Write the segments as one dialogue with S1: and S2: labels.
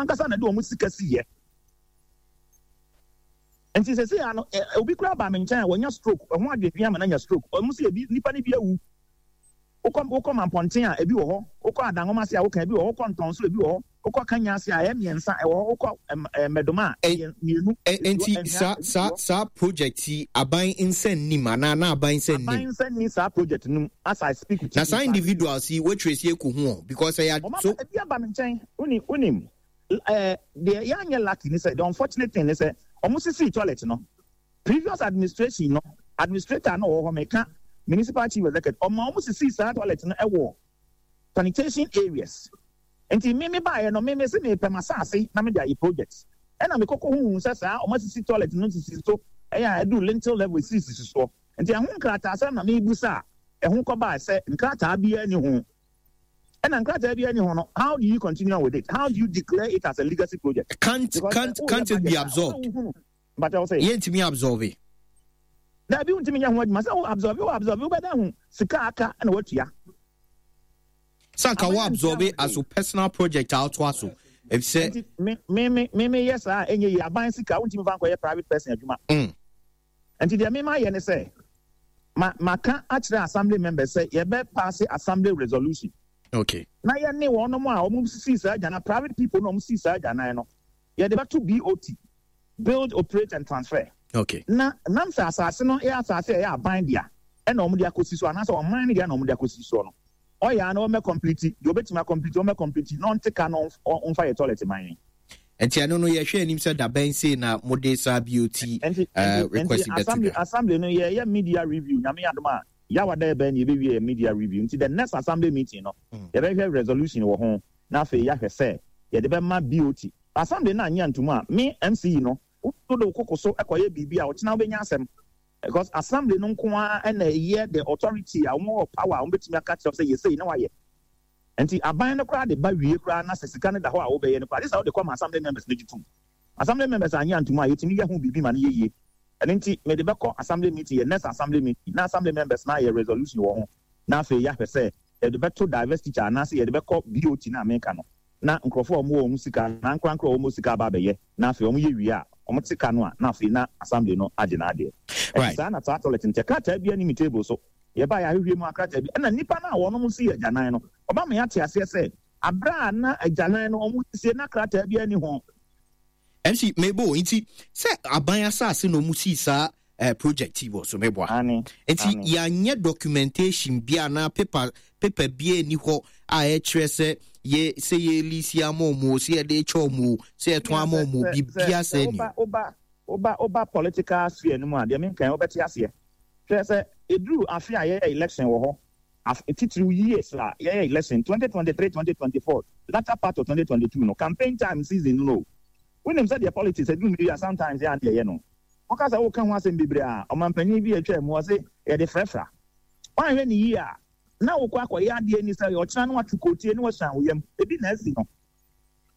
S1: ankasa na de wɔn sika siiɛ. Nti sɛsei ara no, obi koraa baa me nkyɛn a wanya stroke, ɛho adwendwen ama no anya stroke. Wɔn se ebi, nnipa no bi awu. Wokɔ, wokɔ Mampɔnten a, ebi wɔ hɔ. Wokɔ Adanwoma ase a woka, ebi wɔ hɔ. Wokɔ Ntɔnso, ebi wɔ hɔ. Wokɔ Kanya ase a, ɛyɛ mmiɛnsa, ɛwɔ hɔ. Wokɔ ɛm, ɛɛ, Mmɛdoma a, ɛyɛ mmienu, esi hɔ.
S2: Nti
S1: Anhwea,
S2: saa,
S1: ebi si
S2: saa,
S1: hɔ.
S2: saa project yi, aban nsa nnim anaa na aban nsa
S1: Aban
S2: nnim?
S1: nsa nni saa project no mu as I speak with
S2: Na
S1: you.
S2: saa
S1: In fact,
S2: individuals yi, woatrace akɔhu wɔn? Because ɛyɛ ad,
S1: wɔn aba,
S2: so.
S1: ebi aba me nkyɛn. Wonim, wonim, ɛɛ, deɛ yɛanyɛ lucky ne sɛ, the unfortunate thing ne sɛ, wɔn sisii toilet no, Previous administration no, administrator a na ɔwɔ hɔ, meka Municipal Chief Executive, ɔmaa wɔn sisii saa toilet no wɔ sanitation areas. Nti me me baeɛ no, me me se mepɛ m'asaase na mede ayɛ project. Ɛna me kɔkɔ huhu sɛ saa wɔn asisi toilet no sisi so, ɛyɛ a ɛduru lintel level esisisi soɔ. Nti ɛho nkrataasɛm na mebusa a ɛho kɔbae sɛ nkrataa biara nni ho. Ɛna nkrataa biara nni ho no, how do you continue on with it? How do you declare it as a legacy project?
S2: Can't,
S1: Because sɛ
S2: can't,
S1: woyɛ
S2: can't it be
S1: budget a,
S2: absorbed?
S1: ɔsɛ wohunu. Mpakyɛw sɛ.
S2: Yɛntumi absorbe.
S1: Daabi wontumi nyɛ ho adwuma sɛ wo absorbe wo absorbe wobɛda hu sika aka na watua.
S2: Sɛ anka wo
S1: Aban ntua ho
S2: absorbe as
S1: hwee.
S2: wo personal project a wotoa so efisɛ.
S1: Nti me me me me meyɛ saa a ɛnyɛ yie aban sika wontumi fa nkɔyɛ private person adwuma. Nti deɛ me mayɛ ne sɛ ma maka akyerɛ assembly members sɛ yɛbɛ paase assembly resolution.
S2: Okay.
S1: Na yɛne wɔnom a wɔn sisii saa agyanan private people na wɔn sii saa agyanan no yɛde bɛto BOT. Build, Operate and Transfer.
S2: Okay.
S1: Na nam sɛ asase no yɛ asase a ɛyɛ aban dea ɛna wɔn de akɔsi so anaasɛ ɔman no dea na wɔn de akɔsi soɔ no, ɔyɛ a na wɔmmɛ complete, deɛ ɔbɛtumi akɔmplete ɔmmɛ complete na ɔnte ka na ɔmfa yɛ toilet man yɛn.
S2: Nti ɛno no yɛhwɛ anim sɛ dabɛn sei na mode saa BOT
S1: Nti, nti,
S2: request
S1: nti
S2: bɛto
S1: assembly,
S2: dwa?
S1: assembly no yɛyɛ media review, Nyame adom a, Yawa da ɛbɛn no yɛbɛwie yɛ media review, nti the next assembly meeting no yɛbɛhwɛ resolution wɔ ho na afei yɛahwɛ sɛ yɛde bɛma BOT. Assembly no annye antomu a, me MC no, wode wo koko so kɔyɛ biribi a, ɔkyena wobɛnya asɛm. Because assembly no nko ara na ɛyɛ the authority a wɔwɔ power a wɔbɛtumi aka akyerɛ wo sɛ yɛ sei na woayɛ. Nti aban no koraa de ba wie koraa na sɛ sika no da hɔ a wobɛyɛ no koraa, gye sɛ wode kɔma assembly members no gye tom. Assembly members annye antomu a, yɛtumi yɛ ho biribi ma no yɛ yie. Ɛno nti mede bɛkɔ assembly meeting, yɛ next assembly meeting, na assembly members no ayɛ resolution wɔ ho, na afei yɛahwɛ sɛ yɛde bɛto divestiture anaasɛ yɛde bɛkɔ BOT no a meka no. Na nkurɔfoɔ a wɔwɔ wɔn sika anaa ankorankoro a wɔwɔ sika aba abɛyɛ, na afei wɔyɛ wie a, wɔte ka no a, na afei na assembly no agye n'adeɛ. Ɛnti saa na saa toilet no teɛ. Krataa biara nni me table so. Yɛbaeɛ ahwehwɛ mu a, krataa bi, ɛna nnipa no a wɔnom sii agyanan no, wɔma me ate aseɛ sɛ, aberɛ a na agyanan no wɔresie na krataa biara nni ho.
S2: MC, mebo, nti sɛ aban asase na ɔmo sii saa eh, project yi wɔ so meboa.
S1: Ane,
S2: Nti
S1: ane.
S2: yɛanyɛ documentation bi anaa paper paper bi ani hɔ a ɛkyerɛ sɛ yɛ sɛ yɛ lease ama ɔmo o, sɛ yɛde kyɛ ɔmo o, sɛ yɛtɔn
S1: Nea
S2: ama
S1: sɛ
S2: ɔmo o,
S1: sɛ sɛ
S2: biribiara
S1: sɛ
S2: sɛ ni
S1: woba woba woba woba political sphere no mu a, deɛ menka yi wobɛte aseɛ. Hwɛ sɛ ɛduru afe a yɛyɛ election wɔ hɔ, afe titiriw years a yɛyɛ election, 2023, 2024, latter part of 2022 no, campaign time season no no o. Wonim sɛdeɛ politics ɛduru mmere bi a sometimes yɛ a na yɛyɛ no. Woka sɛ woka ho asɛm bebree a, ɔmanpanin bi a atwam mu ɔse yɛde frɛfra. Woanhwɛ no yie a, na wokɔ akɔyɛ adeɛ ni sɛ ɔkyena na woatwe kootie na woasuan wo yam. Ebi na asi no.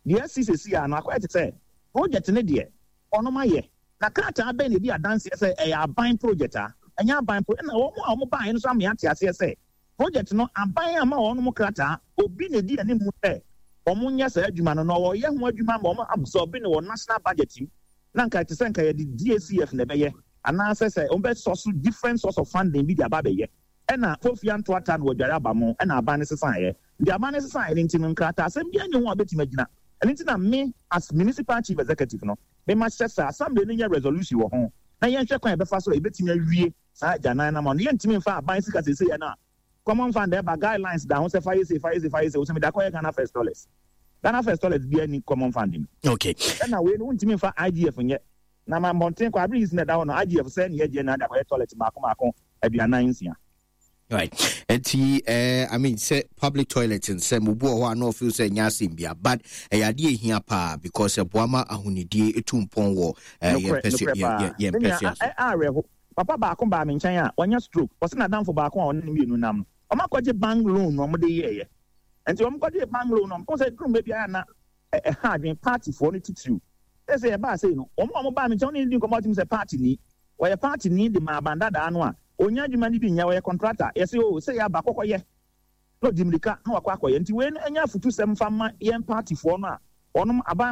S1: Deɛ asi seesei ara no akɔyɛ te sɛ project no deɛ wɔnom ayɛ. Na krataa bɛn na ɛdi adanseɛ sɛ ɛyɛ aban project a? Ɛnyɛ aban pro ɛna wɔn a wɔbaeɛ no nso ama yɛate aseɛ sɛ project no aban amma wɔnom krataa. Obi na ɛdi anim sɛ wɔnyɛ saa adwuma no na wɔyɛ ho adwuma ma wɔn absorb no wɔ national budget mu. Na nka ɛte sɛ nka yɛde DACF na ɛbɛyɛ anaasɛ sɛ wɔbɛsɔ so different source of funding bi de aba abɛyɛ. Ɛna Kofi Antoata na wadware aba mo ɛna aban no sesaeɛ. Nti aban no sesaeɛ no nti no nkrataasɛm biara nni ho a wobɛtumi agyina. Ɛno nti na me as Municipal Chief Executive no me mahyɛ sɛ Assembly no nyɛ resolution wɔ ho na yɛnhwɛ kwan a yɛbɛfa so a yɛbɛtumi awie saa agyanan no ama no. Yɛntumi mfa aban sika seesei ɛna Common Fund ɛba guidelines da ho sɛ fa yɛ sei, fa yɛ sei, fa yɛ sei, wo sɛ mede akɔyɛ Ghana First Dollars. Ghana First Dollars biara nni Common Fund mu. Ɛna wei no wontumi mfa IGF nyɛ. Na ma mmɔnten kɔ abere yi si na ɛda hɔ no IGF sɛ ne yɛgye na ade akɔyɛ toilet mmaako mmaako 46.
S2: Right. Nti, I mean, sɛ public toilet nsɛm obi wɔ hɔ a na ɔfeel sɛ ɛnyɛ asɛm bia, but ɛyɛ adeɛ ehia paa because ɛboa ma ahonidie etu mpɔn wɔ yɛn mpɛsua yɛn mpɛsua so.
S1: Awerɛho. Papa baako baa me nkyɛn a wanya stroke. Ɔse n'adamfo baako a ɔne no mmienu nam no, wɔn akɔgye bank loan na wɔde yɛɛyɛ. Nti wɔn kɔgyee bank loan no, wɔn sɛ duru mmerɛ bi a na ɛha adwene partyfoɔ no titiriw. Sɛ sɛ yɛbaa sei no, wɔn a wɔbaa me nkyɛn wɔne no di nkɔmmɔ a wotumi sɛ party ni. Ɔyɛ party ni de ma aban dadaa no a, ɔnnya adwuma no bi nyɛ, ɔyɛ contractor. Yɛse oo, sei aba, kɔkɔyɛ. Na ɔdi mmirika na wakɔ akɔyɛ. Nti wei no ɛnyɛ afutusɛm mfa mma yɛn partyfoɔ no a wɔnom aban.